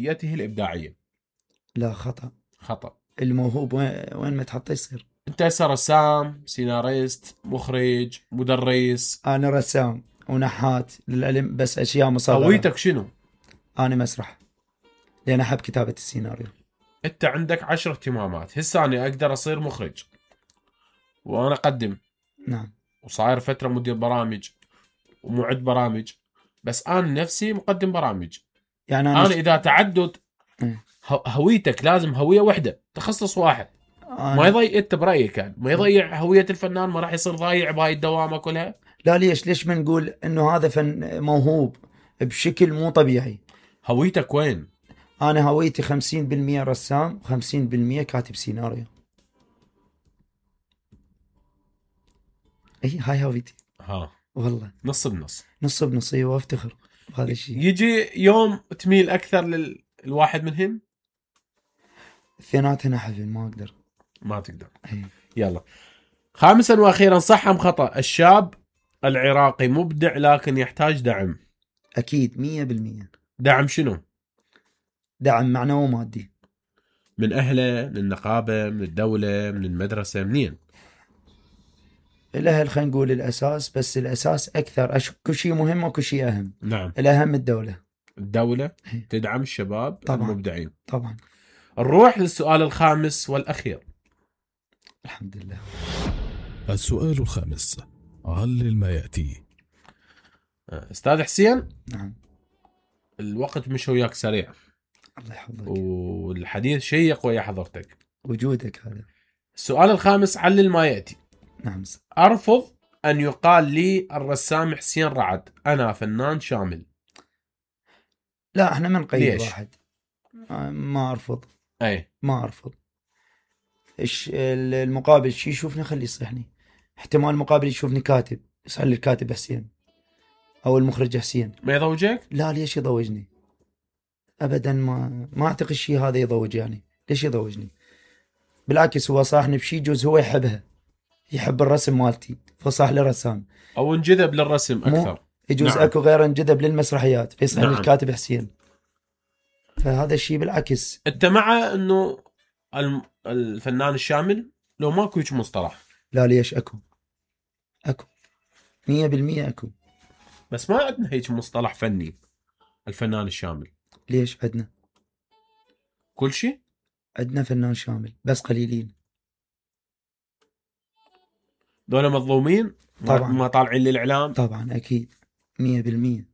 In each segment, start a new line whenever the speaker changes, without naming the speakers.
هويته الإبداعية.
لا، خطأ.
خطأ.
الموهوب وين ما تحطه يصير.
انت هسه رسام، سيناريست، مخرج، مدرس.
انا رسام ونحات للعلم، بس اشياء مصغرة.
هويتك شنو؟
انا مسرح، لان احب كتابة السيناريو.
انت عندك 10 اهتمامات. هسه انا اقدر اصير مخرج وانا اقدم.
نعم.
وصاير فترة مدير برامج ومعد برامج، بس انا نفسي مقدم برامج.
يعني
انا اذا تعدد هويتك لازم هوية واحدة، تخصص واحد. ما يضيع انت برأيك يعني ما يضيع هوية الفنان، ما راح يصير ضايع بهاي الدوامة كلها.
لا، ليش ما نقول انه هذا فن موهوب بشكل مو طبيعي.
هويتك وين؟
انا هويتي 50% رسام و50% كاتب سيناريو. اي هاي هويتي.
ها
والله
نص بنص.
نص بنص، وافتخر بهذا الشيء.
يجي يوم تميل اكثر للواحد منهم؟
اثنيناتنا حفل ما اقدر.
ما تقدر.
أي.
يلا. خامسا واخيرا، صح ام خطأ الشاب العراقي مبدع لكن يحتاج دعم؟
اكيد 100%.
دعم شنو؟
دعم معنوي ومادي.
من اهله، من النقابة، من الدولة، من المدرسة، منين؟
الاهل خلينا نقول الاساس، بس الاساس اكثر. كل شيء مهم وكل شيء اهم.
نعم.
الاهم الدولة.
الدولة تدعم الشباب
طبعا.
المبدعين.
طبعا.
نروح للسؤال الخامس والأخير.
الحمد لله.
السؤال الخامس، علل ما يأتي.
أستاذ حسين.
نعم.
الوقت مش وياك سريع.
الله يحفظك.
والحديث شيق ويا حضرتك.
وجودك هذا.
السؤال الخامس، علل ما يأتي.
نعم.
أرفض أن يقال لي الرسام حسين رعد، أنا فنان شامل.
لا، احنا ما نقيد
ليش؟
واحد. ما أرفض.
أي
ما أرفض. المقابل شي يشوفني خلي يصلحني. احتمال المقابل يشوفني كاتب يصح لي الكاتب حسين أو المخرج حسين.
ما يضوجك؟
لا، ليش يضوجني؟ أبدا ما أعتقد شيء هذا يضوج. يعني ليش يضوجني؟ بالعكس هو صاحني بشي جوز هو يحبها، يحب الرسم مالتي فصاح لي رسام،
أو انجذب للرسم أكثر.
يجوز
نعم.
أكو غير انجذب للمسرحيات فيصح
نعم.
لي الكاتب حسين. فهذا الشيء بالعكس.
أنت مع أنه الفنان الشامل لو ماكو هيك مصطلح؟
لا، ليش أكو 100% أكو.
بس ما عندنا هيك مصطلح فني الفنان الشامل.
ليش عندنا
كل شيء؟
عندنا فنان شامل بس قليلين.
دول مظلومين.
طبعا.
ما طالعين للإعلام.
طبعا أكيد 100%.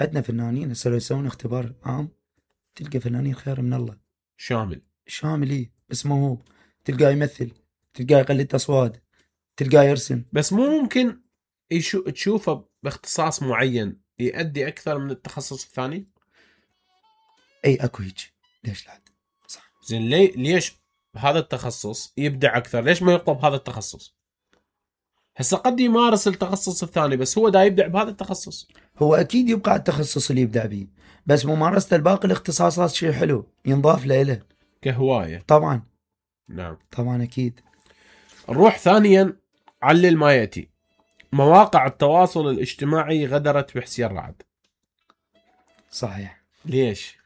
عندنا فنانين هسه لو يسوون اختبار عام تلقى فنانين خير من الله. شامل إيه، بس موهوب. تلقاه يمثل، تلقاه يقلد أصوات، تلقاه يرسم.
بس مو ممكن تشوفه باختصاص معين يؤدي أكثر من التخصص الثاني؟
أي أكو هيك. ليش لا؟ صح.
زين ليش هذا التخصص يبدع أكثر؟ ليش ما يطلب هذا التخصص؟ هسه قد يمارس التخصص الثاني بس هو دا يبدع بهذا التخصص.
هو أكيد يبقى على التخصص اللي يبدع به، بس ممارسة الباقي الاختصاصات شيء حلو ينضاف له
كهواية.
طبعا.
نعم.
طبعا أكيد.
نروح ثانيا، علل ما يأتي. مواقع التواصل الاجتماعي غدرت بحسين رعد.
صحيح.
ليش؟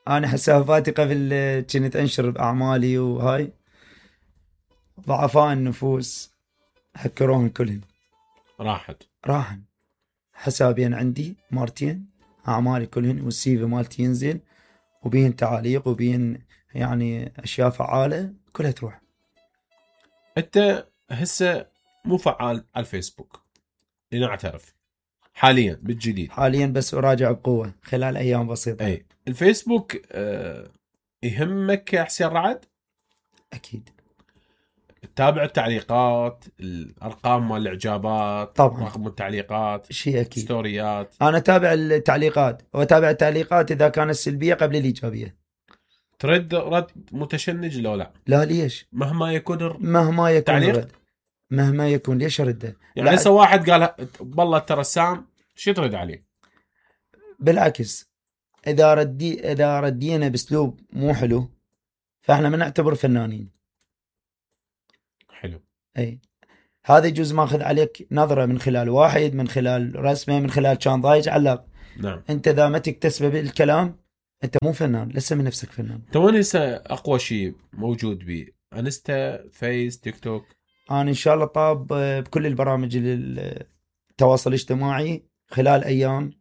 أنا حساباتي قبل كنت أنشر بأعمالي وهاي ضعفاء النفوس هكروهم كلهم. راحن حسابين عندي مرتين، أعمالي كلهن والسيفي مالتي ينزل وبين تعاليق وبين يعني أشياء فعالة كلها تروح.
أنت هسه مو فعال على الفيسبوك لنعترف حاليا بالجديد.
حاليا بس أراجع بقوة خلال أيام بسيطة.
أي الفيسبوك يهمك يا حسين رعد؟
أكيد.
تتابع التعليقات، الأرقام مال الإعجابات
طبعا.
رقم التعليقات،
شيء أكيد.
ستوريات.
أنا أتابع التعليقات وأتابع التعليقات إذا كانت سلبية قبل الإيجابية.
ترد رد متشنج لو لا؟
لا، ليش؟
مهما يكون
تعليق رد. مهما يكون ليش أرده؟
يعني هسه واحد قال والله أنت رسام، شو ترد عليه؟
بالعكس، إذا ردينا بأسلوب مو حلو فإحنا ما نعتبر فنانين.
حلو.
أي هذا يجوز ماخذ عليك نظرة من خلال واحد، من خلال رسمه، من خلال كان ضايج علق.
نعم.
أنت إذا ما تكتسبه بالكلام انت مو فنان، لسه من نفسك فنان.
انت وين هسه اقوى شيء موجود بيه؟ انستا، فيس، تيك توك؟
انا ان شاء الله طاب بكل البرامج التواصل الاجتماعي خلال ايام،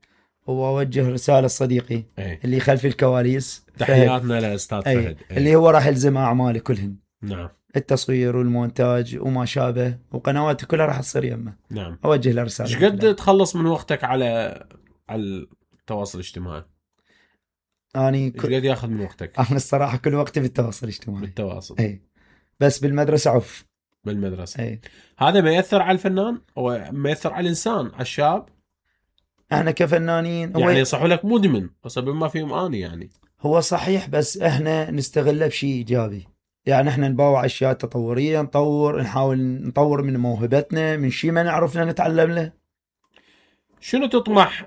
واوجه رساله لصديقي اللي خلف الكواليس،
تحياتنا لاستاذ فهد
اللي هو راح يلزم اعمالي كلهن.
نعم.
التصوير والمونتاج وما شابه، وقنواته كلها راح تصير يمه.
نعم.
اوجه له رساله.
ايش قد تخلص من وقتك على التواصل الاجتماعي؟
ايش
قد ياخذ من وقتك؟
انا الصراحه كل وقتي بالتواصل الاجتماعي.
بالتواصل.
اي بس بالمدرسه عف.
بالمدرسه.
اي
هذا ما ياثر على الفنان او ما ياثر على الانسان، على الشاب؟
احنا كفنانين
يعني يصح لك مدمن بس بما فيهم اني يعني.
هو صحيح، بس احنا نستغله بشيء ايجابي. يعني احنا نباوع اشياء تطوريه، نحاول نطور من موهبتنا، من شيء ما نعرفنا نتعلم له.
شنو تطمح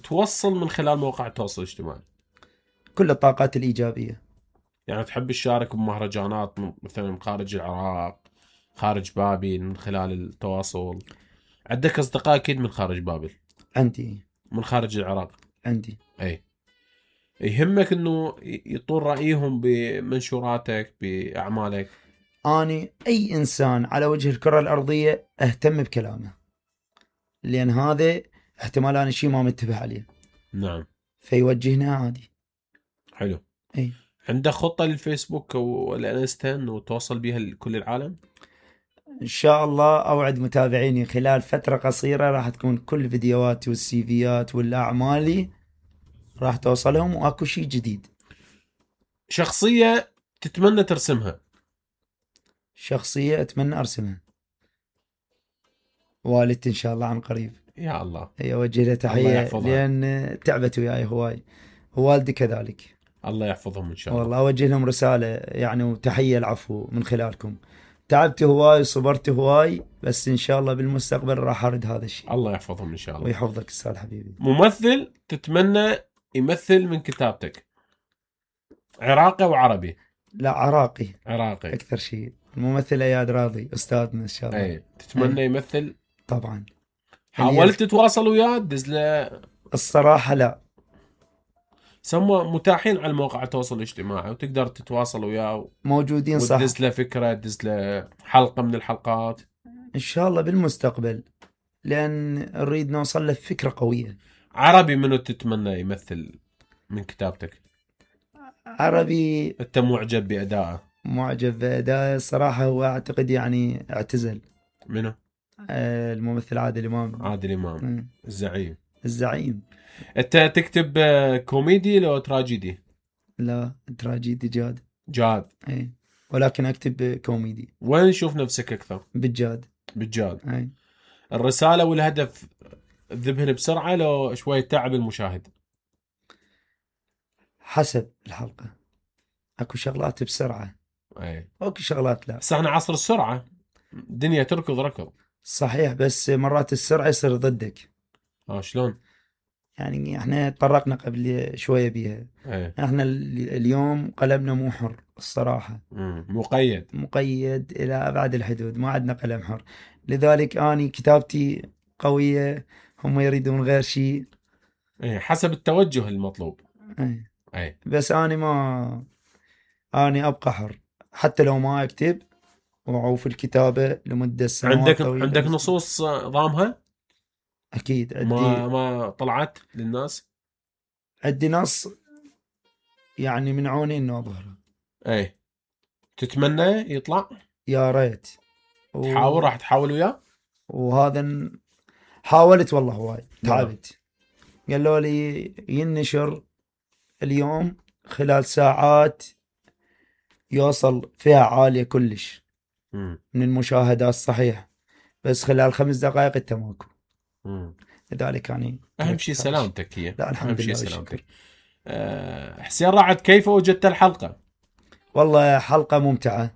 توصل من خلال مواقع التواصل الاجتماعي؟
كل الطاقات الايجابيه.
يعني تحب تشارك بمهرجانات مثلا خارج العراق، خارج بابل، من خلال التواصل؟ عندك اصدقاء اكيد من خارج بابل؟
عندي.
من خارج العراق؟
عندي.
اي. يهمك انه يطول رايهم بمنشوراتك، باعمالك؟
اني اي انسان على وجه الكره الارضيه اهتم بكلامه، لان هذا احتمال انا شيء ما منتبه عليه.
نعم.
فيوجهنا عادي.
حلو.
اي.
عندك خطه للفيسبوك او الانستا انه توصل بها لكل العالم؟
ان شاء الله اوعد متابعيني خلال فتره قصيره راح تكون كل فيديوهاتي والسيفيات والاعمالي راح توصلهم، واكو شيء جديد.
شخصيه تتمنى ترسمها؟
شخصيه اتمنى ارسمها والدتي ان شاء الله عن قريب.
يا الله.
هي اوجه لها تحيه لان تعبت وياي هواي، ووالدي كذلك.
الله يحفظهم ان شاء الله.
والله اوجه لهم رساله يعني وتحيه العفو من خلالكم. تعبت هواي وصبرت هواي، بس ان شاء الله بالمستقبل راح ارد هذا الشيء.
الله يحفظهم ان شاء الله.
ويحفظك استاذ حبيبي.
ممثل تتمنى يمثل من كتابتك؟ عراقي او عربي؟
لا عراقي.
عراقي
اكثر شيء. الممثل اياد راضي استاذنا ان شاء الله.
اي. تتمنى يمثل؟
طبعا.
حاولت تتواصل وياه تدز له؟
الصراحه لا.
سموا متاحين على مواقع التواصل الاجتماعي وتقدر تتواصل وياه.
موجودين صح.
وتدز له فكره، تدز له حلقه من الحلقات.
ان شاء الله بالمستقبل، لان نريد نوصل له فكره قويه.
عربي منو تتمنى يمثل من كتابتك؟
عربي.
انت معجب بادائه؟
معجب بادائه الصراحه. هو اعتقد يعني اعتزل.
منو؟
الممثل عادل امام.
عادل امام. الزعيم.
الزعيم.
انت تكتب كوميدي لو تراجيدي؟
لا تراجيدي جاد.
جاد.
اي. ولكن اكتب كوميدي.
وين تشوف نفسك اكثر؟
بالجاد.
بالجاد.
اي.
الرساله والهدف تذبهن بسرعه لو شويه تعب المشاهد؟
حسب الحلقه. اكو شغلات بسرعه.
اي.
اكو شغلات لا.
بس احنا عصر السرعه، الدنيا تركض ركض.
صحيح، بس مرات السرعه يصير ضدك.
شلون؟
يعني احنا تطرقنا قبل شويه بيها. احنا اليوم قلمنا مو حر الصراحه. مقيد الى ابعد الحدود، ما عندنا قلم حر. لذلك اني كتابتي قويه، هم يريدون غير شيء.
حسب التوجه المطلوب. بس
اني ابقى حر حتى لو ما اكتب، وفي الكتابه لمده سنوات طويله.
عندك نصوص ضامها؟
اكيد عندي.
ما طلعت للناس؟
عندي نص يعني من عوني انه اظهره.
تتمنى يطلع؟
يا ريت.
تحاول؟ راح تحاول وياه؟
وهذا حاولت والله هواي تعبت. قالوا لي ينشر اليوم خلال ساعات يوصل فيها عالية كلش من المشاهدات صحيح، بس خلال 5 دقائق انت ماكو. لذلك يعني
اهم شيء سلامتك هي.
لا الحمد لله سلامتك.
حسين رعد، كيف وجدت الحلقة؟
والله حلقة ممتعة،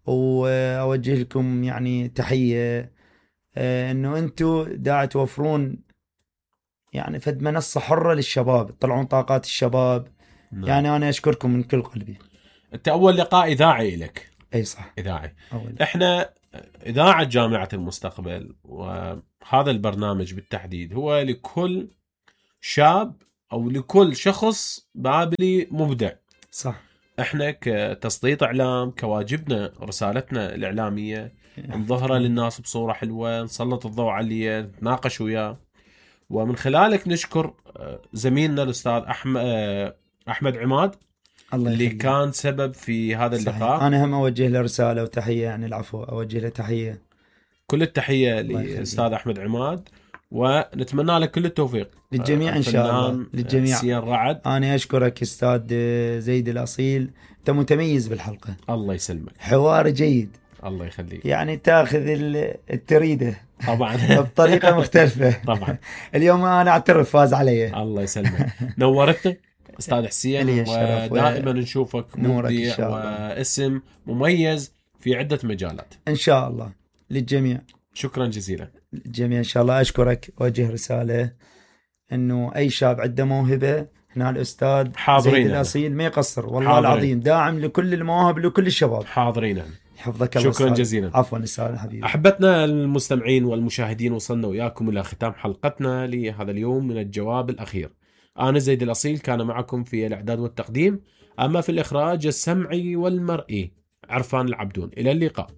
واوجه لكم يعني تحية انه انتم دا توفرون يعني فد منصة حرة للشباب، تطلعون طاقات الشباب. يعني انا اشكركم من كل قلبي.
انت اول لقاء اذاعي لك.
اي صح،
اذاعي. احنا اذاعة جامعة المستقبل، وهذا البرنامج بالتحديد هو لكل شاب أو لكل شخص بابلي مبدع.
صح.
احنا كتسليط اعلام كواجبنا رسالتنا الاعلاميه نظهرها للناس بصوره حلوه، نسلط الضوء عليه، نتناقش وياه. ومن خلالك نشكر زميلنا الاستاذ احمد عماد
الله
اللي
يخليك.
كان سبب في هذا اللقاء.
انا هم اوجه له رساله وتحيه، يعني العفو، اوجه له تحيه.
كل التحيه للاستاذ احمد عماد، ونتمنى لك كل التوفيق
للجميع ان شاء الله. للجميع.
سيان رعد،
انا اشكرك استاذ زيد الاصيل، انت متميز بالحلقه.
الله يسلمك.
حوار جيد.
الله يخليك.
يعني تاخذ التريده
طبعا
بطريقه مختلفه.
طبعا
اليوم انا اعترف فاز علي.
الله يسلمك. نورتنا استاذ حسين، ودائما نشوفك مبدع واسم مميز في عده مجالات
ان شاء الله. للجميع
شكرا جزيلا.
الجميع ان شاء الله. اشكرك، وجه رساله انه اي شاب عنده موهبه هنا الاستاذ زيد الاصيل ما يقصر، والله حاضرين. العظيم داعم لكل المواهب لكل الشباب.
حاضرين.
حفظك الله.
شكرا جزيلا.
عفوا استاذ حبيبي.
احبتنا المستمعين والمشاهدين، وصلنا وياكم الى ختام حلقتنا لهذا اليوم من الجواب الاخير. انا زيد الاصيل كان معكم في الاعداد والتقديم، اما في الاخراج السمعي والمرئي عرفان العبدون. الى اللقاء.